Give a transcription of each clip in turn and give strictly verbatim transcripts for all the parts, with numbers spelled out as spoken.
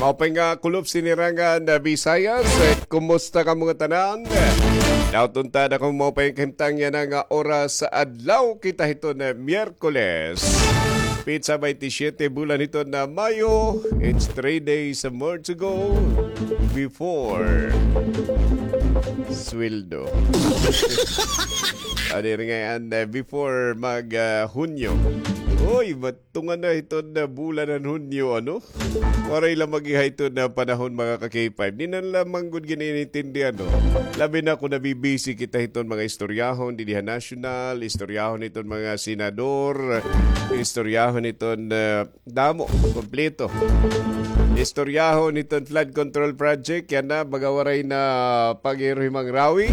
Maupay nga kulop sinirangan na Visayas. Eh, kumusta kamo ngatanan? Daw tunta na kamo maupay nga kahimtang yana nga oras sa adlaw kita hiton Miyerkules. Petsa baynte siyete bulan hiton Mayo. It's three days more to go before sweldo. Ano rin ngayon, eh, before mag, ah, Hunyo. Uy, ba't tunga na hiton bulan han Hunyo, ano? Waray la mag-iha hiton panahon, mga ka-K five. Di na la man gud gin-iintindi, ano? Labi na kon nabibisi kita hiton mga istoryahon, didi ha nasyonal, istoryahon hiton mga senador, istoryahon hiton, ah, damo, kompleto. Istoryahon hiton flood control project, yana, baga waray na pag-iro hi Mang Rawi.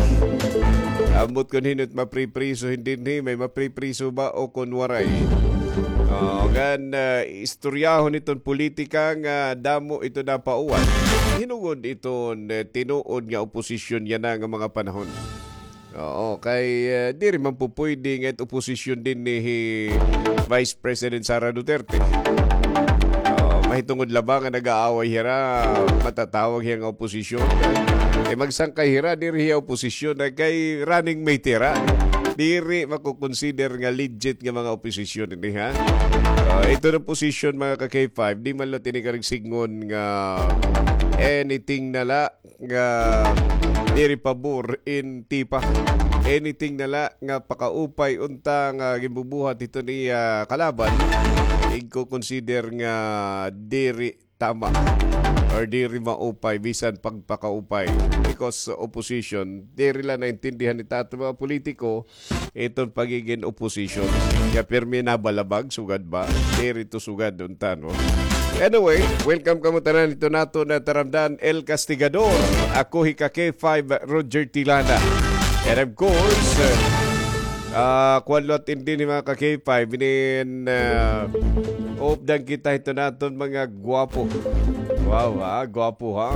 Ambot kon hin-o it mapripriso, hin dinhi, may mapripriso ba o kon waray? O, ngan, ah, istoryahon hiton politika nga damo ito napauwan. Hinungod iton, eh, tinuod nga oposisyon yana nga mga panahon. Oo, kay, eh, diri man pupuyde nga it oposisyon dinhi hi Vice President Sara Duterte. Oo, mahitungod la ba nga nag-aaway hira, matatawag hiya nga oposisyon? Eh, magsangkay hira, diri hiya oposisyon, eh, kay running mate hira. Diri mako-consider nga legit nga mga oposisyon ini, ha? Ah, ito nga oposisyon, mga ka-K five, di man la tini karigsigngon nga anything na la nga diri pabor in Tipa. Anything na la nga pakaupay unta nga ginbubuhat hiton iya kalaban, igko-consider nga diri tama or diri maupay bisan pagpakaupay because opposition, diri la naintindihan hito aton mga politiko iton pagigin opposition. Kay pirmi nabalabag, sugad ba? Diri ito sugad unta, no? Anyway, welcome kamo tanan hiton aton nga taramdan, El Castigador. Ako hi ka K five, Roger Tilana. And of course, ah, kuan liwat ini, mga ka K five, inin, ah, updan kita hiton aton mga gwapo. Wow, ha? Gwapo, ha?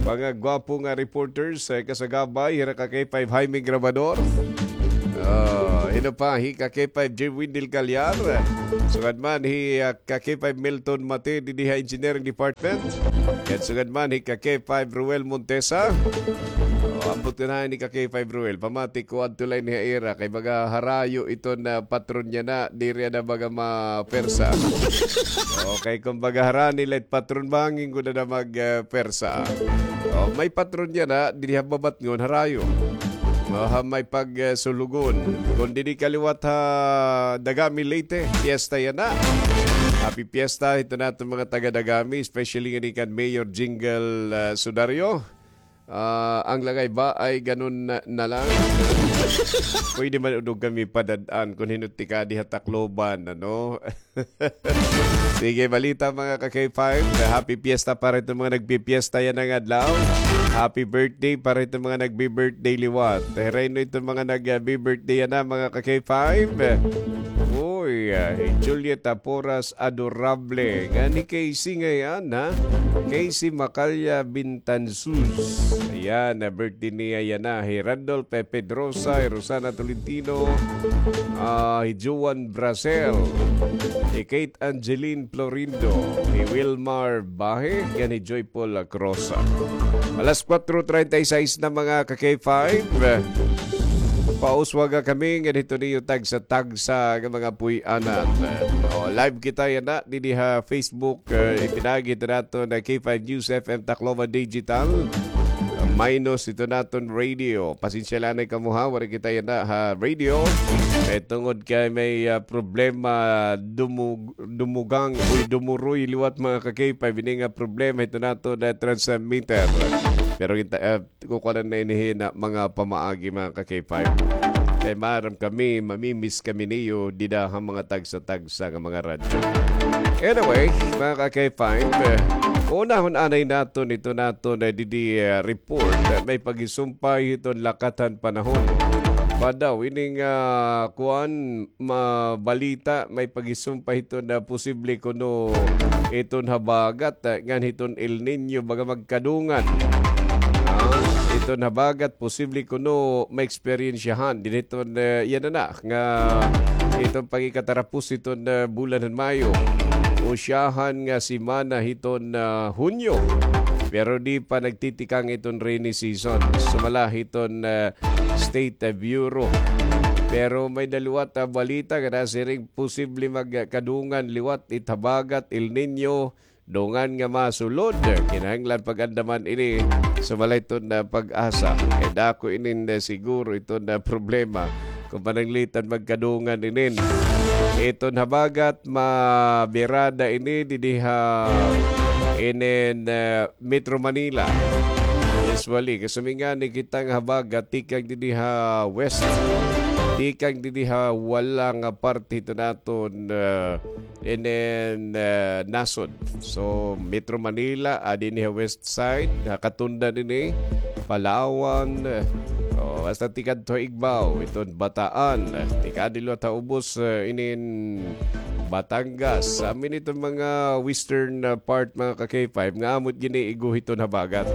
Mga gwapo nga reporters, eh, kasagabay hira ka K five Jaime Grabador. Ah, hin-o pa, hi ka K five J Windel Calyar. Sugad man hi, ah, ka K five Milton Mate, didi ha Engineering Department. Ngan sugad man hi ka K five Ruel Montesa. O, ambot ko na ni ka K five Ruel. Pamati ko adto la ini ha ira kay baga harayo iton patron yana, diri na baga mapersa. Okay, kon baga harani la it patron, bangin gud na mag, eh, persa. O, may patron yana, didi ha Babatngon, harayo. O, ha may pag, eh, Sulugon. Kon didi ka liwat ha Dagami, Leyte, fiesta yana. Happy fiesta hiton aton mga taga Dagami, especially ngani kan Mayor Jingle, ah, Sudario. Ah, an lagay ba ay ganun na, na lang? Pwede man unod kami padad-an kon hin-o it tikadi ha Tacloban, ano? Sige, balita, mga ka K five. Happy fiesta para hiton mga nagpipiesta yana nga adlaw. Happy birthday para hiton mga nagbi-birthday liwat. Hira ini iton mga nagbi-birthday yana, mga ka K five. Uy, ah, hi Juliet Aporas Adorable. Ngan hi Casey ngay-an, ha? Casey Macalla Bintansus. Ayan, na birthday niya yana. Hi Randolph Pedrosa, hi Rosana Tolentino, ah, hi Joan Brasel, hi Kate Angeline Florindo, hi Wilmar Bahe, ngan hi Joyful Crosa. Alas kuwatro treinta y seis na, mga ka K five. Pauswaga kami ngan hiton iyo tagsa-tagsa nga mga puy-anan. O, live kita yana didi ha Facebook, eh, ipinagi ito naton na K five News F M Tacloban Digital. Minus ito naton radio. Pasensya la anay kamo, ha, waray kita yana ha radio. Kay tungod kay may, ah, problema, dumug-, dumugang, uy, dumuroy liwat, mga ka K five, ini nga problema ito naton na transmitter. Pero kita, ah, kukuanan na ini hin mga pamaagi, mga ka K five. Kay maaram kami, mamimiss kami niyo dida ha mga tagsa-tagsa nga mga radyo. Anyway, mga ka K five, eh, unahon anay naton ito naton, eh, didi, eh, report, eh, may paghisumpay hiton lakat han panahon. Padaw, ini nga, ah, kuan, mabalita, may paghisumpay hiton na posible kuno iton habagat, ah, ngan hiton El Niño, baga magkadungan. Ah, iton habagat, posible kuno maeksperiensyahan dinhi hiton, ah, yana na, nga iton pagikatarapos hiton, ah, bulan han Mayo. usyahan nga semana hiton, ah, Hunyo. Pero di pa nagtitikang iton rainy season. Sumala hiton, ah, State Bureau. Pero may-ada liwat, ah, balita nga nasiring posible magkadungan liwat it habagat El Niño dungan nga masulod. Kinahanglan pag-andaman ini, sumala hiton, ah, PAGASA. Kay dako inin, ah, siguro iton, ah, problema kon pananglitan magkadungan inin. Iton habagat mabirada ini didi ha inin, ah, Metro Manila. Usually, kasumi ngani kita nga habagat tikang didi ha west. Tikang didi ha wala nga parte hiton aton, ah, inin, ah, nasod. So, Metro Manila, adi ini ha west side, ha katundan ini, Palawan, ah, o, hasta tikadto ha Igbaw, iton Bataan, ah, tikadi liwat ha ubos, ah, inin Batangas. Amin iton mga western, ah, part, mga ka-K five, nga amo it gin-iigo hiton habagat.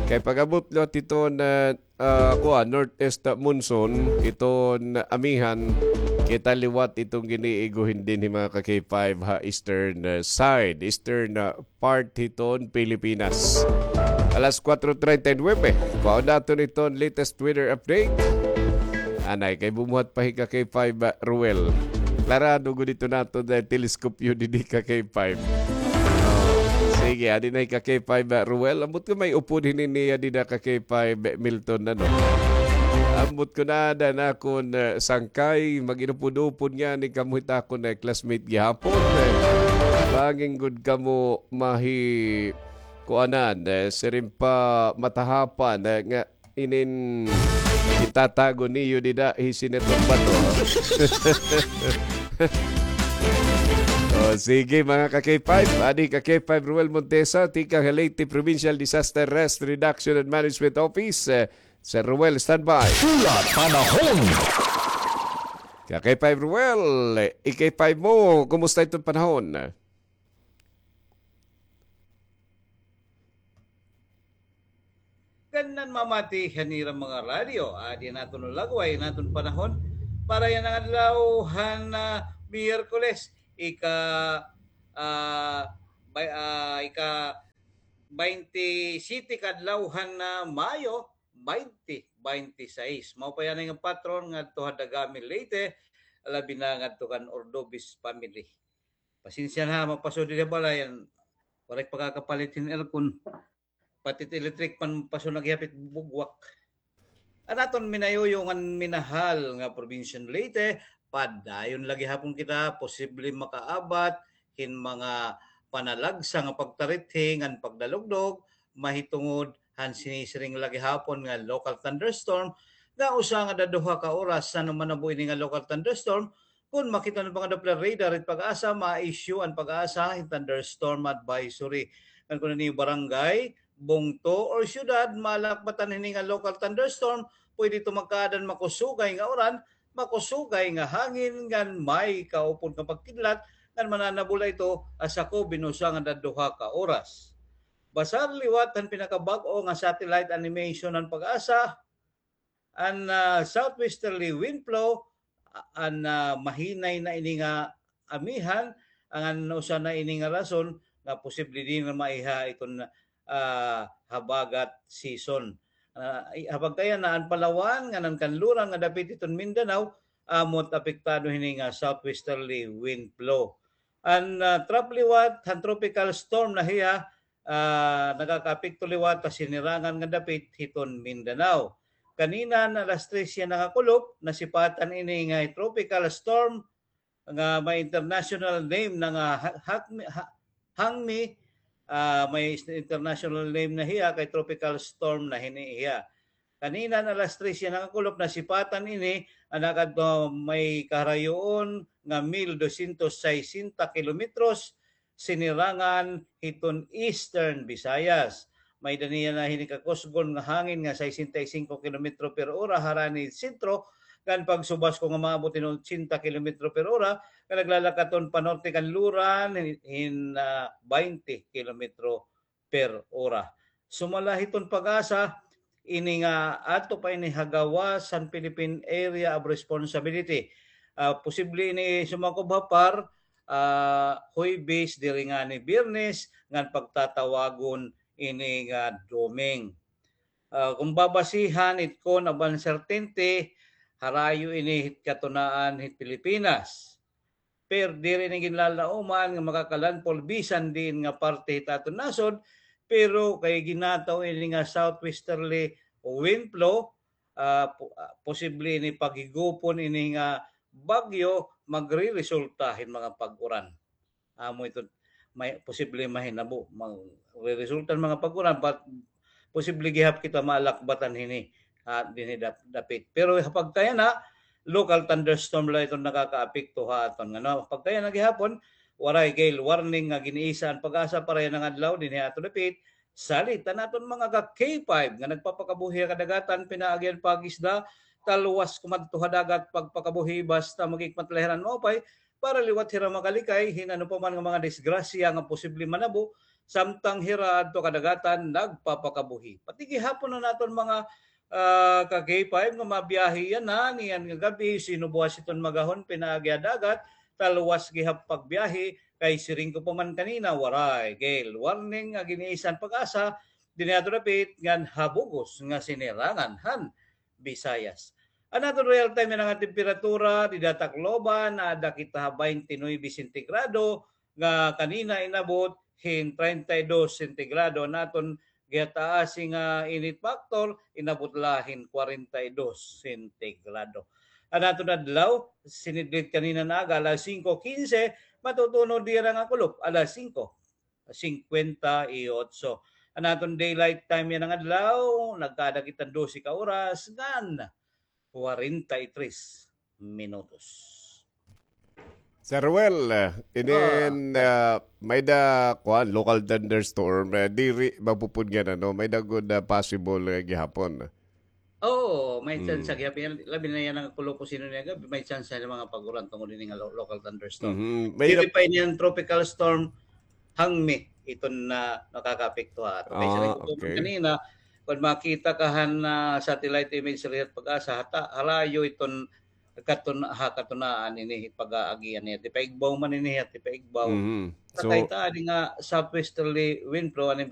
Kay pag-abot liwat hiton, ah, ah, kuan, northeast monsoon, iton amihan, kita liwat iton gin-iigo hin dinhi, mga ka-K five, ha eastern, ah, side, eastern, ah, part hiton Pilipinas. Alas kuwatro treinta y nuebe, kuhaon naton iton latest weather update. Anay, kay bumuhat pa hi ka-K five, ah, Ruel. Klarado gud iton aton teleskopyo didi, ka-K five. Oh, sige, adi na hi ka-K five, ah, Ruel. Ambot ko may upod hini niya dida, ka-K five, ah, Milton, ano? Ambot ko na ada na akon, ah, sangkay, mag-inupod-upod ngani kamo hit akon, ah, classmate gihapon, eh. Bangin gud kamo mahi-, kuanan, eh, siring pa matahapan, eh, nga inin itatago niyo dida hi Senator Bato, ha? O, sige, mga ka-K five. Adi ka-K five, Ruel Montesa, tikang ha Leyte Provincial Disaster Risk Reduction and Management Office. Eh, Sir Ruel, standby. Pula Panahon. Ka-K five Ruel, eh, i-K five mo, kumusta iton panahon? Ngan mamati han ira mga radyo, adi an aton lagway, an aton panahon para yana nga adlaw han, ah, Miyerkules, ika, ah, bay-, ah, ika baynte siyete ka adlaw han, ah, Mayo, baynte baynte sais. Mao pa yana nga patron ngadto ha Dagami, Leyte, labi na ngadto kan Ordovez family. Pasensya na, mapasod didi ha balay, an waray pakakapalit hin aircon. Pati it electric pan pasod na gihap it bugwak. An aton minayuyo ngan minahal nga probinsya han Leyte, padayon la gihapon kita posible makaabat hin mga panalagsa nga pagtarithi ngan pagdalugdog mahitungod han sinisiring la gihapon nga local thunderstorm nga usa ngada duha ka oras. Ano man abo ini nga local thunderstorm, kon makita an mga Doppler radar it PAGASA, ma-issue an PAGASA hin thunderstorm advisory. Ngan kon an iyo barangay, bungto, or syudad malakbatan hini nga local thunderstorm, pwede ito magkaada hin makusugay nga uran, makusugay nga hangin, ngan may kaupod nga pagkidlat, ngan mananabol ito ha sakob hin usa ngada duha ka oras. Basar liwat han pinakabag-o nga satellite animation han PAGASA, an, ah, southwesterly wind flow, a-, an, ah, mahinay na ini nga amihan, an usa na ini nga rason nga posible dinhi nga maiha iton, ah, habagat season. Ah, i-, ha pagkayana, an Palawan ngan an kanluran nga dapit hiton Mindanao, amo it apektado hini nga southwesterly wind flow. An, ah, trough liwat han tropical storm na hiya, ah, nakakaapekto liwat ha sinirangan nga dapit hiton Mindanao. Kanina han alas tres yana nga kulop, nasipatan ini nga tropical storm nga may international name na nga ha-, hakmi-, ha-, Hangmi, ah, may international name na hiya kay tropical storm na hini hiya. Kanina han alas tres yana nga kulop, nasipatan ini, an nakadto may kaharayoon nga mil dosyentos saysenta kilometros, sinirangan hiton Eastern Visayas. May-ada niya na hini kakusgon nga hangin nga sesenta y cinco kilometro per ora harani sentro, ngan pagsubas ko nga maabot hin ochenta kilometro per ora, nga naglalakat-on panorte kanluran hin, hin, ah, baynte kilometro per ora. Sumala hiton PAGASA, ini nga ato pa ini ha gawas han Philippine Area of Responsibility. Ah, posible ini sumakob ha PAR, ah, Huwebes, diri ngani Biyernes, ngan pagtatawagon ini nga Doming. Ah, kon babasihan it kon ab uncertainty, harayo ini hit katunaan hit Pilipinas. Pero diri ini ginlalauman nga makaka-landfall bisan diin nga parte hit aton nasod, pero kay ginataw ini nga southwesterly wind flow, ah, po-, ah, posible ini paghigupon ini nga bagyo, magreresulta hin mga pag-uran. Amo ito, may posible mahinabo, magreresulta hin mga pag-uran, but posible gihap kita maalakbatan hini, ah, dinhi dap-, dapit. Pero ha pagkayana, local thunderstorm la iton nakakaapekto ha aton. Ngano, pagkayana gihapon, waray gale warning nga gin-isa an PAGASA para yana nga adlaw dinhi ha aton dapit. Salit an aton mga ka K five nga nagpapakabuhi ha kadagatan, pinaagi an pag-isda, talwas kumadto ha dagat, pagpakabuhi basta maghikmat la hira hin maupay, para liwat hira makalikay hin ano pa man nga mga disgrasya nga posible manabo, samtang hira adto kadagatan nagpapakabuhi. Pati gihapon an aton mga, ah, ka K five nga mabiyahe yana niyan nga gab-i, sinubuas iton magahon pinaagi ha dagat, talwas gihap pagbiyahe, kay siring ko pa man kanina, waray gale warning nga gin-isa an PAGASA dinhi ha aton dapit ngan ha bug-os nga sinirangan han Visayas. An aton real time yana nga temperatura dida ha Tacloban, naada kita ha baynte nuebe sentigrado, nga kanina inabot hin treinta y dos sentigrado. An aton gihataasi nga init factor, inabot la hin kwarenta y dos sentigrado. An aton adlaw, sinidlit kanina nga aga, alas singko kinse, matutunod dira nga kulop, alas singko singkwenta y otso. An aton daylight time yana nga adlaw, nagkaada kita hin dose ka oras ngan kwarenta y tres minutos. Sir Well, eh, inin, ah, may-ada, kuan, local thunderstorm, eh, diri mapupud nga, ano, may-ada gud, ah, possible, eh, gihapon. Oo, may tsansa gihap. Labi na yana nga kulop, sino niya gab-i, may tsansa hin mga pag-uran tungod ini nga lo-, local thunderstorm. Mhm. Diri pa ini an tropical storm Hangmi iton na nakakaapekto ha aton. Kay siring ko pa man kanina, kon makita ka han, ah, satellite imagery hit PAGASA, hata-, harayo iton katun-, ha katunaan ini pag-aagian niya. Hit paigbaw man ini, hit paigbaw. Mhm. So, nakita ini nga southwesterly wind flow, an